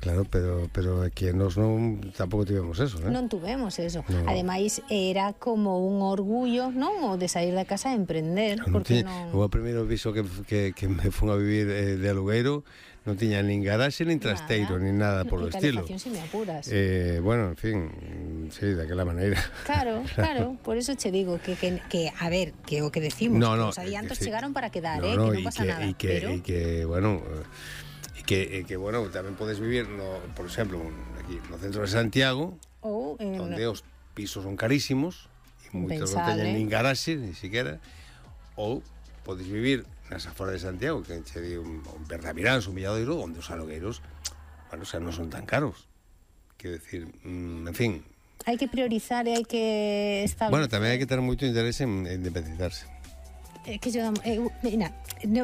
Claro, pero é que nós tampouco tivemos eso, Non tuvemos eso. No. Ademais, era como un orgullo, non? O de sair da casa e emprender. Porque non... O primeiro piso que me fun a vivir de alugueiro non tiña nin garaxe, nin trasteiro, nin nada polo estilo. Calefacción, si me apuras. Bueno, en fin, sí, daquela maneira. Claro, por eso che digo que a ver, que o que decimos, que os adiantos chegaron para quedar, que non pasa nada. E que, bueno... que bueno, tamén podes vivir por exemplo, aquí no centro de Santiago, onde os pisos son carísimos e moitos non teñen nin garaxe, ni siquiera, ou podes vivir nas aforas de Santiago, que che di un Bernavirán, un Villadoiro, onde os alugueiros, bueno, o sea, non son tan caros. Quero decir, en fin, hai que priorizar e hai que establecer. Bueno, tamén hai que ter moito interés en independizarse. Que yo mira,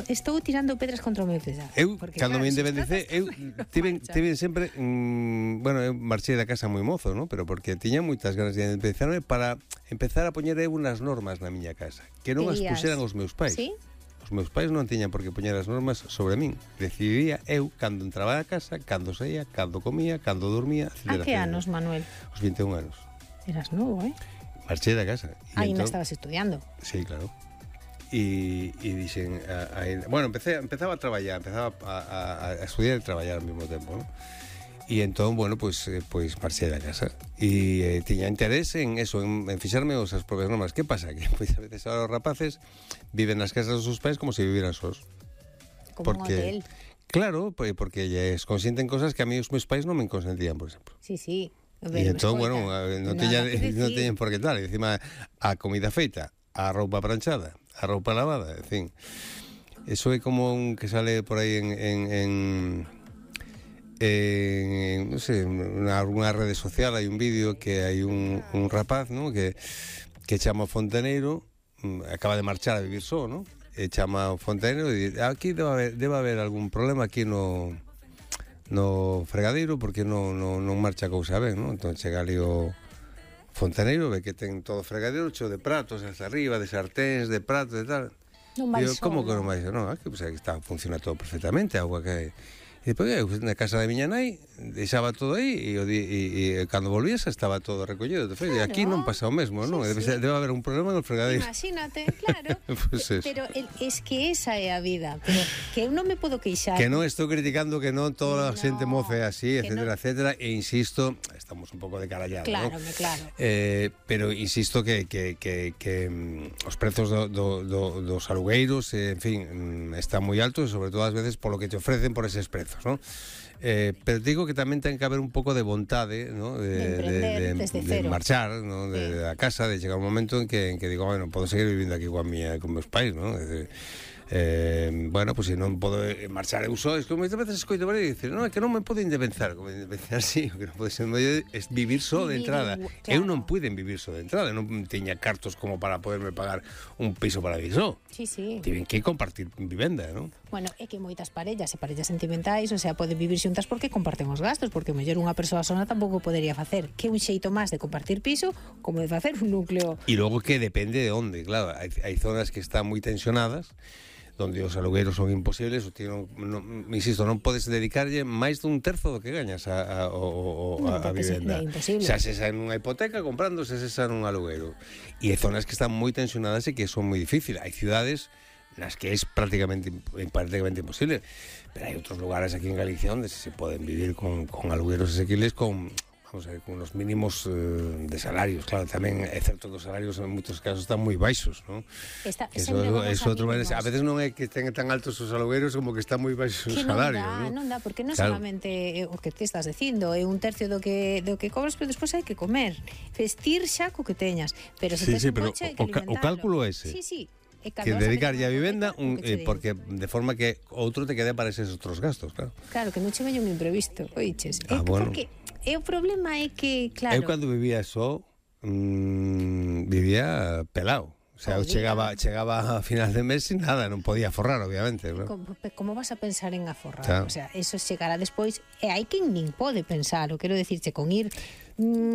estou tirando pedras contra o meu tejado. Eu, cando me independicé, eu tive sempre bueno, eu marchei da casa moi mozo, ¿no? Pero porque tiña moitas ganas de independizarme para empezar a poñer eu unas normas na miña casa, que non as puxeran os meus pais. ¿Sí? Os meus pais non tiñan por que poñer as normas sobre min. Decidía eu cando entraba a casa, cando saía, cando comía, cando dormía, etcétera. A que anos, Manuel? Os 21 anos. Eras novo, Marchei da casa. Ainda estabas estudiando. Sí, claro. E dixen, bueno, empezaba a traballar, empezaba a estudiar e traballar ao mesmo tempo, ¿no? E entón, bueno, pues marchei da casa e tiña interés en eso, en fixarme as propias normas. Que pasa? Que pues, a veces ahora os rapaces viven nas casas dos seus pais como se viviran sós. Como un hotel. Claro, porque lles consienten cosas que a mí os meus pais non me consentían, por exemplo. Sí. E entón, bueno, non teñen por que tal. E encima, a comida feita, a roupa planchada, a roupa lavada, en fin. Eso é como un que sale por aí en non sei, nalgúna rede social hai un vídeo que hai un rapaz, ¿no? que chama o fontaneiro, acaba de marchar a vivir só, ¿no? E chama o fontaneiro e di, aquí debe haber algún problema aquí no fregadeiro porque non marcha a cousa ben, ¿no? Entón chega ali o fontaneiro, ve que ten todo o fregadeiro cheo de pratos hasta arriba, de sarténs, de pratos e tal. Non vai só. Como que non vai só? Non, aquí pues, está, funciona todo perfectamente, a agua que hai. E depois eu na casa da miña nai deixaba todo aí e cando volvías estaba todo recollido. Claro. E aquí non pasa o mesmo, non? Sí. Debe haber un problema no fregadeiro. Imagínate, claro. Pues pero es que esa é a vida. Pero que eu non me podo queixar. Que non estou criticando que non toda a xente moce así, etcétera, etcétera. E insisto, estamos un pouco de carallado, claro, ¿no? Claro. Pero insisto que os prezos dos alugueiros, en fin, están moi altos, e sobre todo ás veces polo que te ofrecen por eses prezos, ¿no? Pero digo que tamén ten que haber un pouco de vontade, ¿no? de marchar, ¿no? Da casa, de chegar un momento en que digo, bueno, podo seguir vivindo aquí con meus pais, ¿no? Bueno, pues se non podo marchar eu só, es que moitas veces escoito por aí e dicir, non, é que non me podo independizar, como independizar sí, o que non pode ser es vivir só de entrada. Claro. Eu non puiden vivir só de entrada, non tiña cartos como para poderme pagar un piso para vivir só. Sí. Tiven que compartir vivenda, non? Bueno, é que moitas parellas sentimentais, o sea, poden vivir xuntas porque comparten os gastos, porque o mellor unha persoa sola tampouco podería facer. Que un xeito máis de compartir piso como de facer un núcleo. E logo que depende de onde, claro, hai zonas que están moi tensionadas, donde os alugueiros son imposibles, insisto, non podes dedicarlle máis dun terzo do que gañas a vivenda. É imposible. Xa se xa nunha hipoteca comprándose xa nun alugueiro. E hai zonas que están moi tensionadas e que son moi difíciles. Hai cidades nas que é prácticamente imposible, pero hai outros lugares aquí en Galicia onde se poden vivir con alugueiros asequibles con unos mínimos de salarios, claro, tamén é certo que os salarios en moitos casos están moi baixos, non? Eso outro, a veces non é que estén tan altos os alugueiros como que están moi baixos os salarios, non dá, porque non solamente o que te estás dicindo, é un tercio do que cobras, pero despois hai que comer, vestir xa co que teñas, pero se tes un coche hai que alimentarlo. O cálculo é ese. Sí. Que dedicarlle a vivenda porque de forma que outro te quede para eses outros gastos, claro. Claro, que non che veña un imprevisto, oiches. Bueno. Porque o problema é que, claro... Eu cando vivía só, vivía pelado. O sea, eu chegaba a final de mes sin nada, non podía forrar, obviamente, ¿no? Como vas a pensar en aforrar? Claro. O sea, eso chegará despois, e hai quen nin pode pensar, o quero dicirche, con ir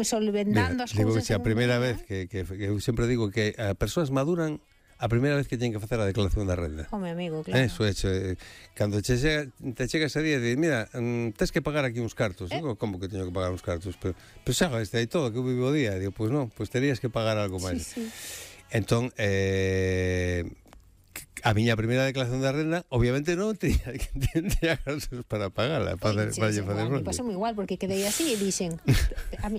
solventando as cousas... Digo que a primeira vez que eu sempre digo que as persoas maduran a primeira vez que teñen que facer a declaración da renda. Home, amigo, claro. Eso, cando te chega ese día e mira, tens que pagar aquí uns cartos. Digo, como que teño que pagar uns cartos? Pero xa, este aí todo, que eu vivo o día. Digo, pois non, pois terías que pagar algo máis. Sí. Entón, a miña primeira declaración da renda, obviamente non tenía gastos para pagala, para facer me pasou moi igual, porque quedei así e dixen,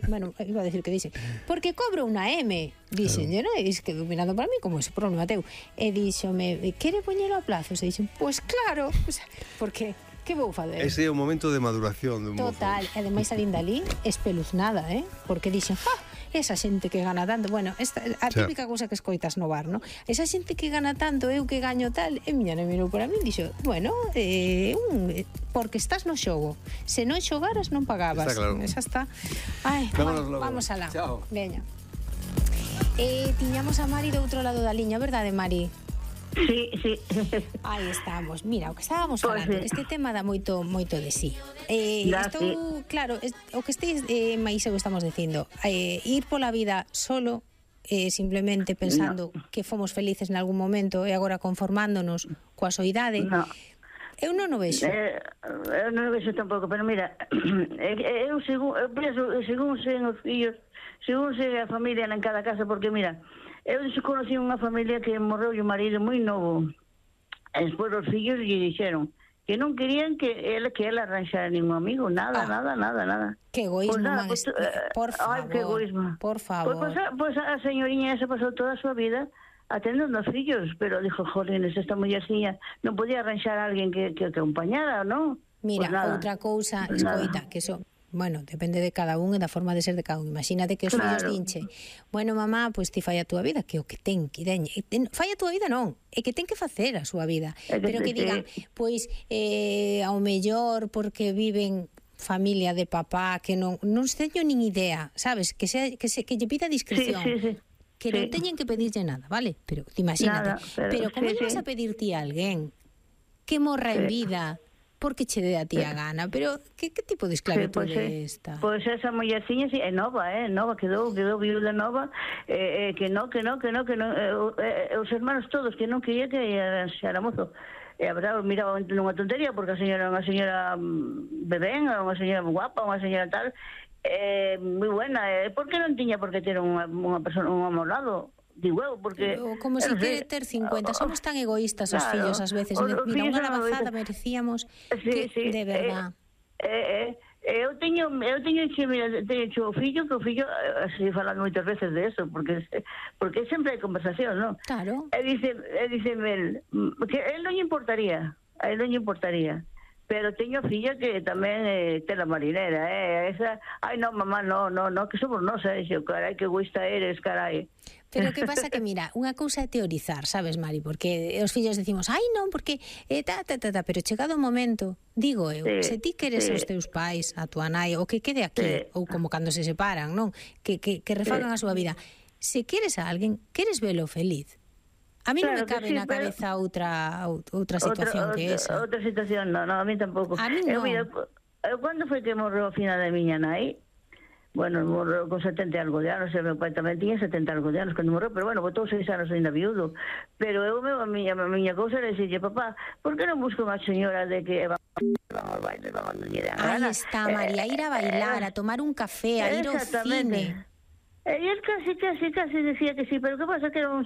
bueno, iba a decir que dixen, porque cobro unha M, dixen, claro. E que dominando para mí como ese problema teu, e dixome, quere poñelo a plazos? E dixen, pois claro, porque que vou fazer? Ese é o momento de maduración dun mozo. Total, e ademais a Lindalí espeluznada, porque dixen, esa xente que gana tanto, bueno, a típica cousa que escoitas no bar, ¿no? Esa xente que gana tanto, eu que gaño tal, e miña non mirou para mí e dixo, bueno, porque estás no xogo, se non xogaras non pagabas. Está claro. Esa está. Ai, vamos alá. Chao. Veña. Tiñamos a Mari do outro lado da liña, verdade, Mari? Sí. Aí estamos. Mira, o que estábamos falando, este tema dá moito de sí. Claro, o que estéis máis eu estamos dicindo, ir pola vida solo, simplemente pensando que fomos felices en algún momento e agora conformándonos coa soidade. Eu non o vexo. Eu non o vexo tampouco, pero mira, eu según sen os fillos, según se a familia en cada casa, porque mira, eu conocí unha familia que morreu o marido moi novo. E despois os fillos lle dixeron que non querían que ela arranxara ningún amigo, nada. Que egoísmo, pues por favor. Ai, que egoísmo. Por favor. Pues a señoriña esa pasou toda a súa vida atendendo aos fillos, pero dijo, jolines, esta mullerciña non podía arranxar a alguén que acompañara, non? Mira, pues outra cousa, escoita, que son bueno, depende de cada un e da forma de ser de cada un. Imagínate que os fillos dinche, bueno, mamá, pois ti fai a túa vida, que o que ten que deñe. Fai a túa vida non, é que ten que facer a súa vida. Pero que digan, pois, ao mellor porque viven familia de papá que non teño nin idea, sabes? Que lle pida discreción. Sí. Que non teñen que pedirlle nada, vale? Pero imagínate, pero como lle vas a pedir ti a alguén que morra en vida porque che dé a ti a gana, pero que tipo de esclavitud é esta? Pois esa mullerciña é nova, quedou viuda nova, que non, os hermanos todos que non quería que arranxara mozo. E a verdade, miraba nunha tontería, porque a señora é unha señora bebén, unha señora guapa, unha señora tal, moi buena, por que non tiña por que ter unha persona, un home ao lado? Digo eu, porque... Como se quere ter 50, somos tan egoístas os fillos ás veces. Mira, unha lavazada merecíamos que, de verdad. Eu teño o fillo, que o fillo se falan moitas veces de eso, porque sempre hai conversación, non? Claro. E diceme que a él non lle importaría, pero teño filla que tamén tela marinera, esa, ai non, mamá, no, que somos nós, carai, que egoísta eres, carai. Pero que pasa que, mira, unha cousa é teorizar, sabes, Mari, porque os fillos decimos, ai non, porque pero chegado o momento, digo eu, se ti queres os teus pais, a tua nai, o que quede aquí, ou como cando se separan, non? Que refagan a súa vida. Se queres a alguén, queres velo feliz. A mí non me cabe na cabeza outra situación que esa. Outra situación, non, a mí tampouco. A mí non. Cando foi que morreu a final de miña nai? Bueno, morreu con 70 e algo de anos, e meu pai tamén tiña 70 e algo de anos cando morreu, pero bueno, botou 6 anos ainda viudo. Pero a miña cousa era dicirlle, papá, por que non busco unha señora de que vamos ao baile, vamos a ir a Aí está, María, ir a bailar, a tomar un café, a ir ao cine. E el casi decía que sí, pero que pasa que era un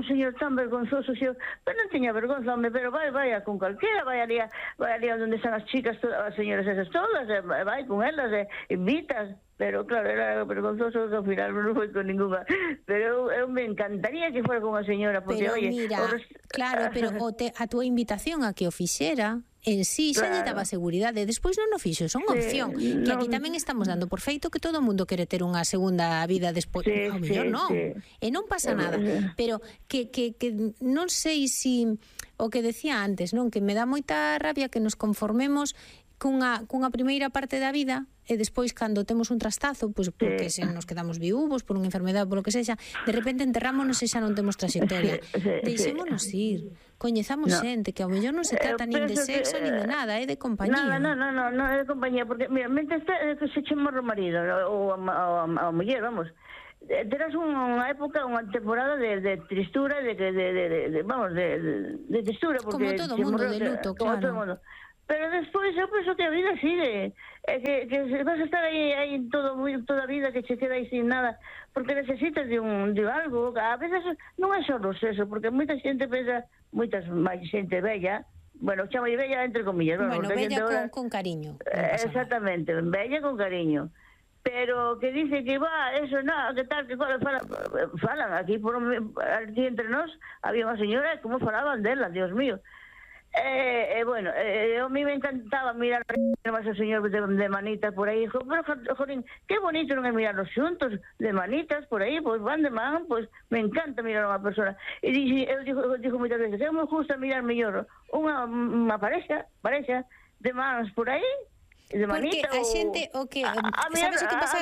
señor tan vergonzoso, pero non teña vergonza, hombre, pero vaya con calquera, vai ali onde están as chicas, as señoras esas todas, vai con elas, invitas. Pero claro, era vergonzoso, ao final non foi con ninguna. Pero eu me encantaría que fuera con unha señora, porque, pero, oye... Mira, claro, pero a túa invitación a que o fixera en sí xa lle daba seguridade. Despois non o fixo, son opción. Que aquí tamén estamos dando por feito que todo o mundo quere ter unha segunda vida despois. Ao mellor non. E non pasa nada. Pero que non sei se o que decía antes, non? Que me dá moita rabia que nos conformemos cunha primeira parte da vida e despois cando temos un trastazo, pois porque se nos quedamos viúvos por unha enfermedade, polo que sexa, de repente enterrámonos e xa non temos trayectoria. Deixémonos ir, coñezamos xente que ao mellor non se trata nin de sexo nin de nada, é de compañía. Non, é de compañía, porque mira, mentre se che morre o marido ou a muller, vamos, terás unha época, unha temporada de tristura, de tristura, porque como todo mundo de luto, como claro. todo mundo. Pero despois eu penso que a vida sigue, que vas a estar aí toda a vida que che queda aí sin nada, porque necesitas de algo. A veces non é só eso, porque moita xente pensa, máis xente bella, bueno, chamo de bella entre comillas, bueno, bella con cariño. Exactamente, bella con cariño. Pero que dice que eso, nada, que tal, que falan aquí entre nós, había unha señora, como falaban dela, Dios mío. Bueno, a mí me encantaba mirar a ese señor de manitas por aí, pero, jorín, qué bonito non é mirarlos xuntos, de manitas por aí, pues van de man, pues me encanta mirar a unha persona. E eu digo moitas veces, eu me gusta mirar mellor unha parexa de mans por aí, de manita. Porque a xente, sabes o que pasa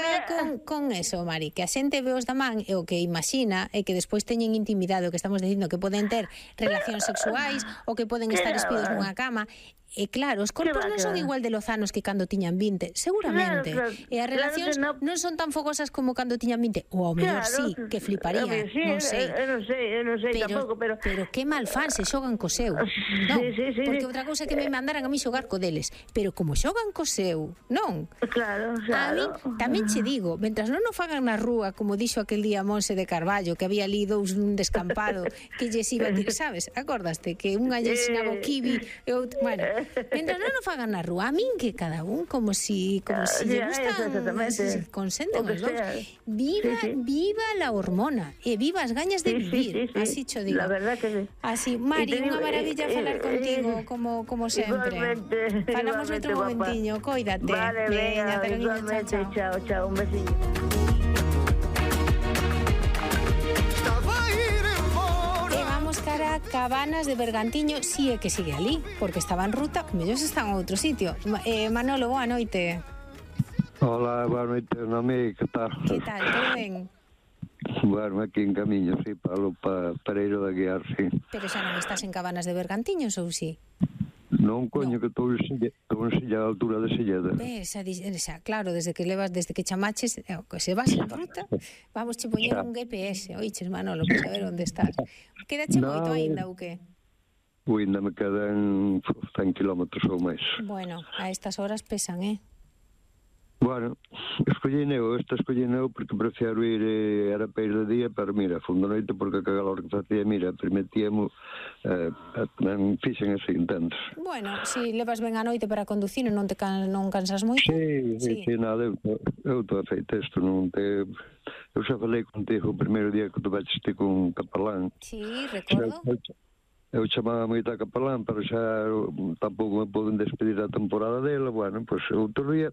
con eso, Mari? Que a xente ve os da man e o que imagina é que despois teñen intimidade, o que estamos dicindo, que poden ter relacións sexuais ou que poden estar espidos nunha cama. E claro, os corpos non son igual de lozanos que cando tiñan 20, seguramente. Claro. E as relacións non son tan fogosas como cando tiñan 20, ou ao mellor sí, que fliparía, non sei. Eu non sei tampouco, pero que mal fan se xogan co seu. Non, porque outra cousa é que me mandaran a mí xogar co deles, pero como xogan co seu, non? Claro. A mí tamén che digo, mentras non o fagan na rúa, como dixo aquel día Monse de Carballo, que había lido un descampado que lles iba a dir, sabes? Acordaste que unha lle ensinaba o kiwi e outro, bueno, mentras non o fagan na rúa, a min que cada un como si lle gustan, si consenten os dous. Viva la hormona e viva as gañas de vivir, así cho digo. La verdad que sí. Así, Mari, unha maravilla falar contigo como sempre. Falamos outro momentiño, coídate. Vale, venga, igualmente, chao, un besiño. Cara Cabanas de Bergantiño, si é que sigue ali, porque estaba en ruta, mellor están a outro sitio. Manolo, boa noite. Hola, boa noite, Noemi, que tal? Que tal, todo ben? Bueno, aquí en camiño, sí, para Pereiro de Aguiar, sí. Pero xa non estás en Cabanas de Bergantiños, ou si? Non, coño, que estou en Silla, a altura de Silleda. Esa, claro, desde que chamaches, que se vas en ruta, vamos che poñer un GPS, oiches, Manolo, para saber onde estás. Quedache moito aínda, ou que? Ainda me quedan 100 kilómetros ou máis. Bueno, a estas horas pesan, Bueno, escollineu porque prefiero ir a Arapeiro de día, pero mira, fundo noite porque a calor que facía, mira, permitíamos fixen así, entendes? Bueno, si levas ben a noite para conducir e non cansas moito. Sí, nada, eu estou feito isto, non te... Eu xa falei contigo o primeiro día que tu veches ti con un capelán. Sí, recordo. Eu chamaba moito a capelán, pero xa tampouco me poden despedir a temporada dela. Bueno, pois outro día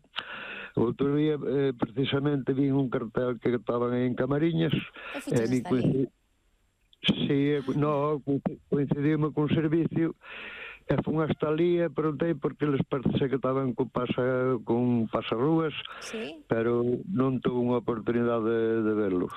precisamente vi un cartel que estaban en Camariñas. Coincidimos con servicio e fun hasta ali e preguntei porque les parece que estaban con pasarrúas, sí, pero non tuve unha oportunidade de verlo.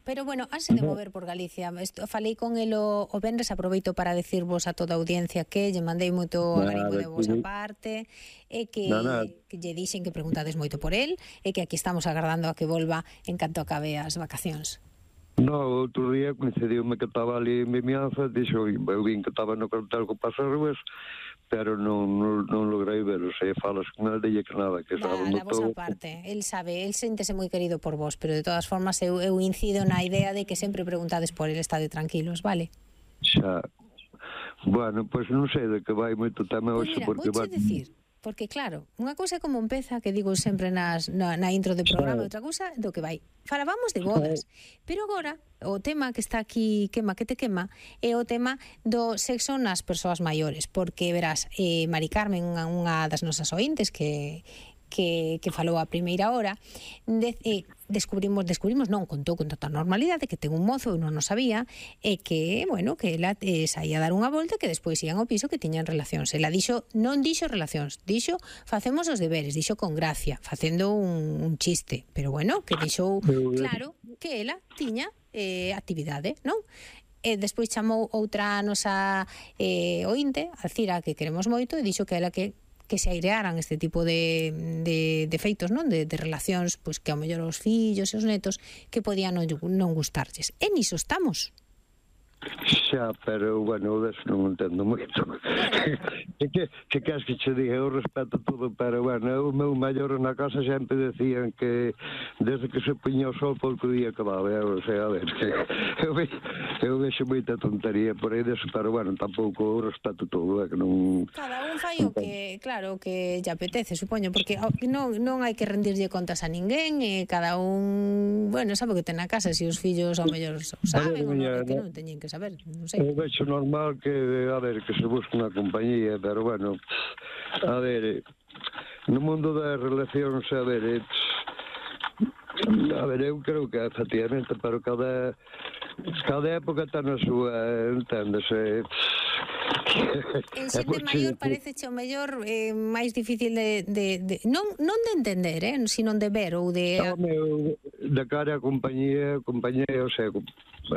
Pero bueno, hanse de mover por Galicia. Falei con el o venres, aproveito para decirvos a toda a audiencia que lle mandei moito agarimo de vosa parte e que lle dixen que preguntades moito por el e que aquí estamos agardando a que volva en canto acabe as vacacións. No, outro día coincidiume que estaba ali en Vimianza, dixo, eu vin que estaba no cartel con pasarrúas, pero non logrei ver, o sea, falas con el, dille que nada, que estaba da vosa parte, el sabe, el séntese moi querido por vos, pero de todas formas eu incido na idea de que sempre preguntades por el, estade tranquilos, vale? Xa, bueno, pois non sei de que vai moito tema hoxe, porque vai... decir, porque claro, unha cousa é como empeza, que digo sempre na intro de programa, outra cousa do que vai. Falábamos de bodas, pero agora o tema que está aquí que te quema é o tema do sexo nas persoas maiores, porque verás, Mari Carmen, unha das nosas ointes que falou a primeira hora, descubrimos, non, contou con total normalidade que ten un mozo, non o sabía, e que, bueno, que ela saía a dar unha volta, que despois ian ao piso que tiñan relacións. Ela non dixo relacións, dixo facemos os deberes, dixo con gracia, facendo un chiste, pero bueno, que dixou claro que ela tiña actividade, non? E despois chamou outra nosa ointe, a Cira, que queremos moito, e dixo que ela que que se airearan este tipo de feitos, non? De relacións, pois que ao mellor os fillos e os netos que podían non gustarlles. E niso estamos. Xa, pero, bueno, deso non entendo moito. Que queres que che diga? Eu respeto todo, pero, bueno, o meu maior na casa sempre decían que desde que se poñía o sol pouco día acababa, o sea, a ver, eu vexo moita tontería por aí deso, pero, bueno, tampouco respeto todo, que non... Cada un fai o que, claro, que lle apetece, supoño, porque non hai que rendirlle contas a ninguén, e cada un, bueno, sabe o que ten na casa, se os fillos ao mellor saben ou non, que non teñen que saber, non sei. Eu vexo normal que, a ver, que se busque unha compañía, pero, bueno, a ver, no mundo das relacións, a ver, eu creo que efectivamente, pero cada época ten a súa, enténdese. En xente maior parece o mellor máis difícil non de entender, sino de ver ou de... De cara a compañía, o sea,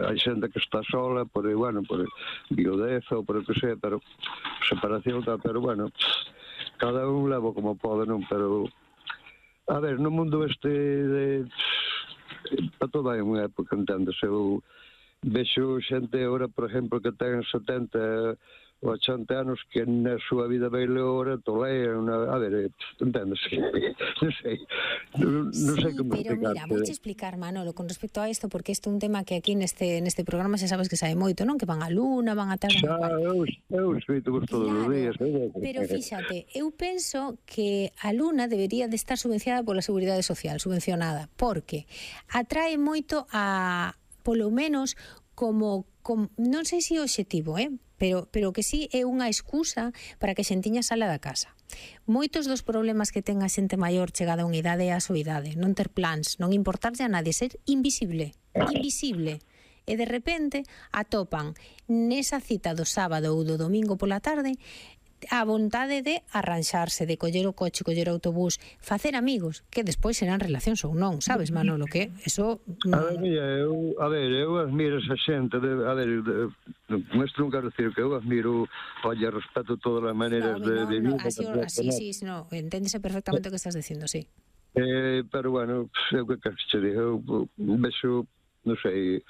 hai xente que está sola por, bueno, por viudez ou por o que sea, pero separación, pero, bueno, cada un leva como pode, non? Pero, a ver, no mundo para toda hai unha época, entendes? Eu vexo xente agora, por exemplo, que ten 70 ou 80 anos que na súa vida bailou ahora tolean, a ver, entendes? Non sei como explicar. Pero mira, vouche explicar, Manolo, con respecto a isto, porque isto é un tema que aquí neste programa xa sabes que sabe moito, non? Que van a Luna, van a tal... Eu escrito todos os días. Pero fíxate, eu penso que a Luna debería de estar subvencionada pola Seguridade Social, subvencionada, porque atrae moito a, polo menos, como non sei se é o obxectivo, pero que sí é unha excusa para que a xentiña sala da casa. Moitos dos problemas que ten a xente maior chegada a unha idade é a soidade, non ter plans, non importarlle a nadie, ser invisible. E de repente atopan nesa cita do sábado ou do domingo pola tarde a vontade de arranxarse, de coller o coche, coller o autobús, facer amigos, que despois serán relacións ou non, sabes, Manolo, que eso... Eu admiro esa xente, con isto non quero dicir que eu admiro, respeto todas as maneiras de vivir. Sí, enténdese perfectamente o que estás dicindo, sí. Pero, bueno, eu que quero que che diga, eu vexo, non sei,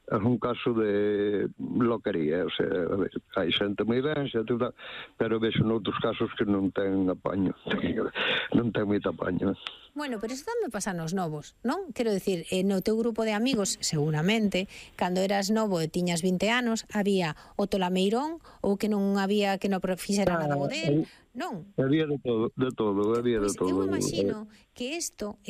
é un caso de loquería, o sea, a ver, hai xente moi ben, pero vexo noutros casos que non ten apaño, non ten moito apaño. Bueno, pero eso tamén pasa nos novos, non? Quero dicir, no teu grupo de amigos, seguramente, cando eras novo e tiñas 20 anos, había o tolameirón ou que non había que non fixera nada modelo, non? Había de todo, había de todo. Eu imagino que isto,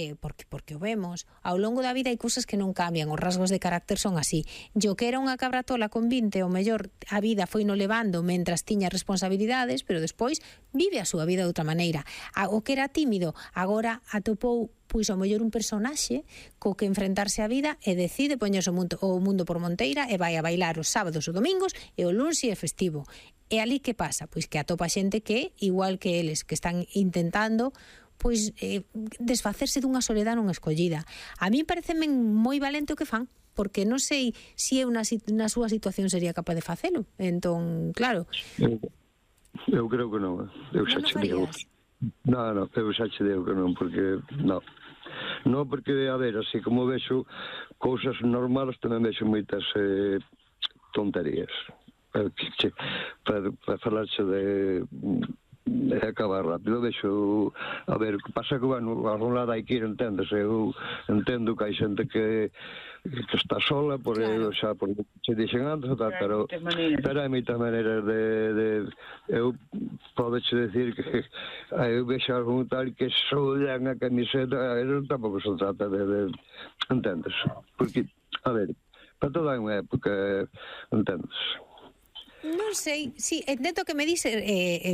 porque o vemos, ao longo da vida hai cousas que non cambian, os rasgos de carácter son así. Yo que era unha cabratola con 20, o mellor a vida foi no levando mentras tiña responsabilidades, pero despois vive a súa vida de outra maneira. O que era tímido, agora atopou pois ao mellor un personaxe co que enfrentarse á vida e decide poñerse o mundo por monteira e vai a bailar os sábados ou domingos e o luns é festivo. E ali que pasa? Pois que atopa xente que, igual que eles, que están intentando pois desfacerse dunha soledade non escollida. A mí pareceme moi valente o que fan, porque non sei se eu na súa situación sería capaz de facelo. Entón, claro. Eu creo que non. Eu xa che digo. Non, eu xa che digo que non, porque non. Non, porque, a ver, así como vexo cousas normales, tamén vexo moitas tonterías. Para falarse de acabar rápido, vexo, a ver, que pasa que, bueno, a un lado hai que ir, entendes, eu entendo que hai xente que está sola, por xa por se dixen antes, pero hai moitas maneiras de eu podeche decir que eu vexo algún tal que soldan a camiseta, eso tampouco se trata de entendes, porque, a ver, para toda unha época, entendes. Non sei, sí, entendo que me dice,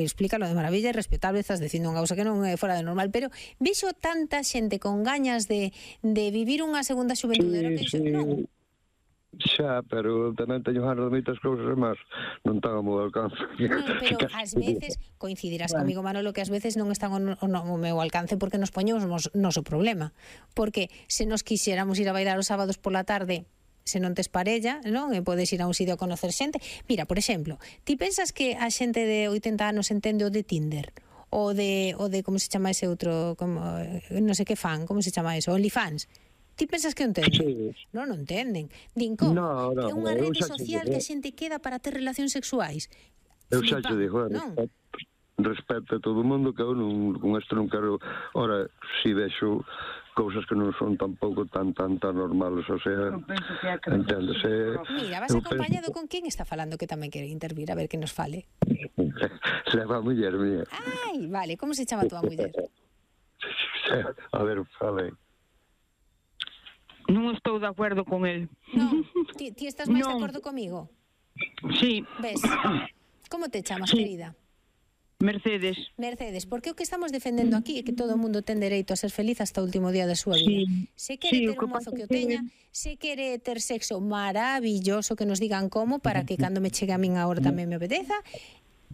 explícalo de maravilla e respetable, estás dicindo unha cousa que non é fora de normal, pero vexo tanta xente con gañas de vivir unha segunda xuventude, non? Xa, pero tamén teño ganas de moitas cousas e máis non tan ao meu alcance. Non, pero ás veces coincidirás comigo, Manolo, que ás veces non están ao meu alcance porque nos poñemos noso problema, porque se nos quixéramos ir a bailar os sábados pola tarde, se non tes parella, non? E podes ir a un sitio a conocer xente. Mira, por exemplo, ti pensas que a xente de 80 anos entende o de Tinder? o de como se chama ese outro, como non sei que fan, como se chama eso, OnlyFans. Ti pensas que entenden? Sí. Non entenden. Din como? No, É unha eu rede xa te social digo. que a xente queda para ter relacións sexuais. Eu xa te digo, Non? respeto a todo o mundo, que eu con isto non quero. Ora, si vexo cousas que non son tampouco tan normales, o sea, entendes? Mira, vas acompañado con quen está falando que tamén quere intervir, a ver que nos fale. Leva a muller mía. Ai, vale, como se chama a túa muller? A ver, fale. Non estou de acordo con el. Non, ti estás máis de Non. acordo comigo? Sí, Ves? Como te chamas, Sí. querida? Mercedes. Mercedes, porque o que estamos defendendo aquí é que todo o mundo ten dereito a ser feliz hasta o último día da súa vida. Sí. Se quere Sí, ter o que un mozo pasa que o que- teña, se quere ter sexo maravilloso, que nos digan como, para que cando me chegue a min a hora tamén me obedeza,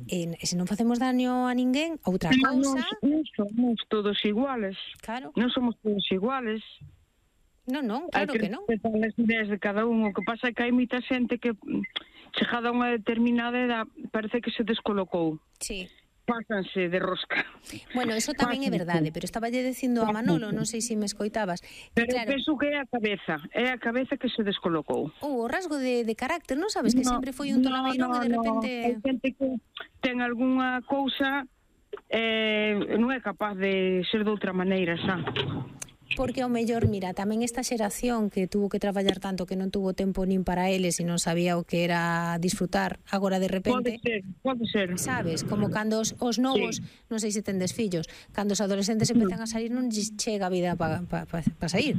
e se non facemos daño a ninguén, outra cousa, Non somos todos iguales. claro, Non somos todos iguales. non, Hai claro que non. respetar as ideas de cada un. O que pasa é que hai moita xente que, chegada a unha determinada edad, parece que se descolocou. Sí. Pásanse de rosca. Bueno, eso tamén é verdade, pero estaba lle dicindo a Manolo, non sei se me escoitabas, que Pero claro, penso que é a cabeza que se descolocou. o rasgo de carácter, non sabes que sempre foi un tolameirón e de repente... Hai xente que ten algunha cousa non é capaz de ser de outra maneira, xa. Porque ao mellor, mira, tamén esta xeración que tuvo que traballar tanto que non tuvo tempo nin para eles e non sabía o que era disfrutar, agora de repente... Pode ser. Sabes, como cando os novos, non sei se tendes fillos, cando os adolescentes empezan a salir non lles chega a vida para sair.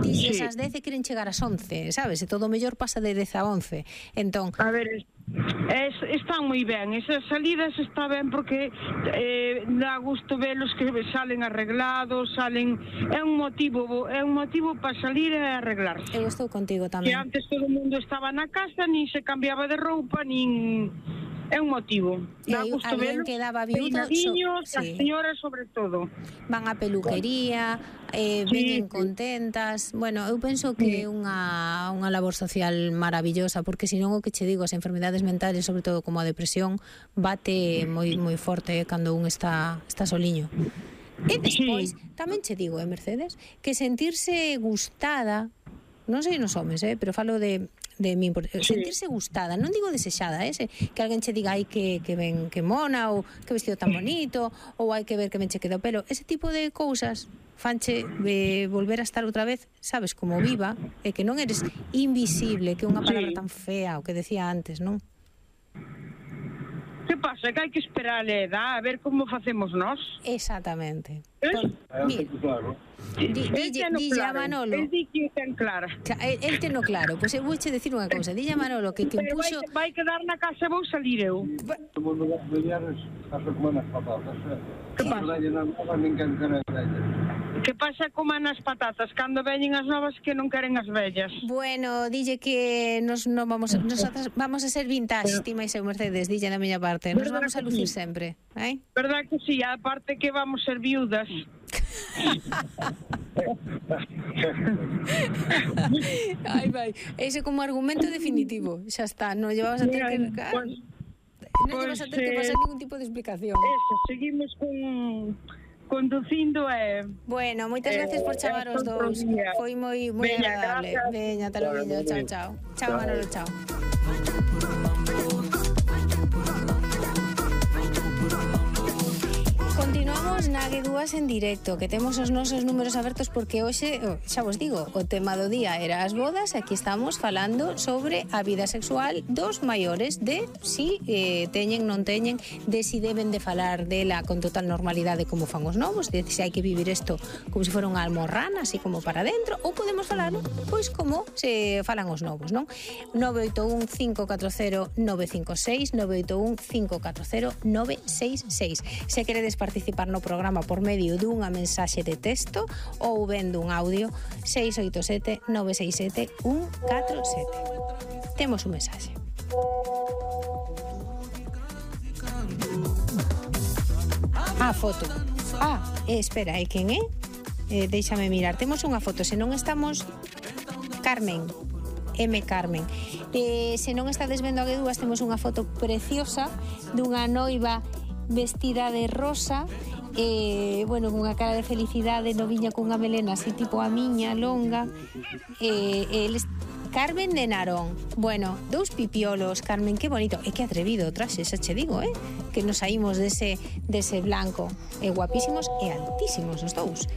Dixes ás 10 e queren chegar ás 11, sabes? E todo o mellor pasa de 10 a 11. Entón, A ver, están moi ben, esas salidas está ben porque dá gusto velos que salen arreglados, é un motivo para salir e arreglarse. eu estou contigo Que tamén. antes todo o mundo estaba na casa, nin se cambiaba de roupa, nin... É un motivo. E Dá hai gusto alguén velos, que daba viudo, peinadiños, as sí. señoras sobre todo. Van á peluquería, veñen contentas. Bueno, eu penso que é unha labor social maravillosa, porque senón o que che digo, as enfermidades mentales, sobre todo como a depresión, bate moi forte cando un está soliño. E despois, tamén che digo, Mercedes, que sentirse gustada, non sei nos homes, pero falo de min, sentirse gustada, non digo desexada, que alguén che diga ai que ben, que mona, ou que vestido tan bonito, ou hai que ver que ben che queda o pelo, ese tipo de cousas fanche volver a estar outra vez, sabes, como viva, e que non eres invisible, que é unha palabra tan fea, o que decía antes, non? Que pasa? Que hai que esperar a edad a ver como facemos nós. Exactamente. Mira, Claro. dille a Manolo. El di que ten clara. El ten no claro, pois eu vouche decir unha cousa, dille a Manolo que Pero puxo... vai quedar na casa e vou salir eu. Como non das mulleres, aso como nas patatas. Que pasa? Ninguén quere vellas. Que pasa como nas patatas, cando veñen as novas que non queren as vellas. Bueno, dille que nosotras vamos a ser vintage, ti máis eu, Mercedes, dille da miña parte. Nos vamos a lucir sempre, eh? Verdad que sí, aparte que vamos ser viudas. Ai, vai. Ese como argumento definitivo, xa está, non llevabas a ter que... Non llevas a ter que pasar ningún tipo de explicación. Eso, seguimos conducindo e... Bueno, moitas gracias por chamar os dous. Foi moi agradable. Veña, ata logo, chao. Chao, Manolo, chao. Continuamos na G2 en directo, que temos os nosos números abertos porque hoxe, xa vos digo, o tema do día era as bodas e aquí estamos falando sobre a vida sexual dos maiores, de si teñen, non teñen, de si deben de falar dela con total normalidade como fan os novos, de si hai que vivir isto como se fora unha almorrana, así como para dentro, ou podemos falar, pois como se falan os novos, non? 981 540 956 981 540 966. Se queredes participar no programa por medio dunha mensaxe de texto ou vendo un audio, 687 967 147. Temos un mensaxe. Foto. Espera, e quen é? Déixame mirar. Temos unha foto, se non estamos... Carmen. Carmen. Se non estades vendo a G2, temos unha foto preciosa dunha noiva vestida de rosa, bueno, cunha cara de felicidade, noviña cunha melena así tipo a miña, longa, eles... Carmen de Narón. Bueno, dous pipiolos, Carmen, que bonito. E que atrevido o traxe, xa che digo, que nos saímos dese blanco. Guapísimos e altísimos os dous.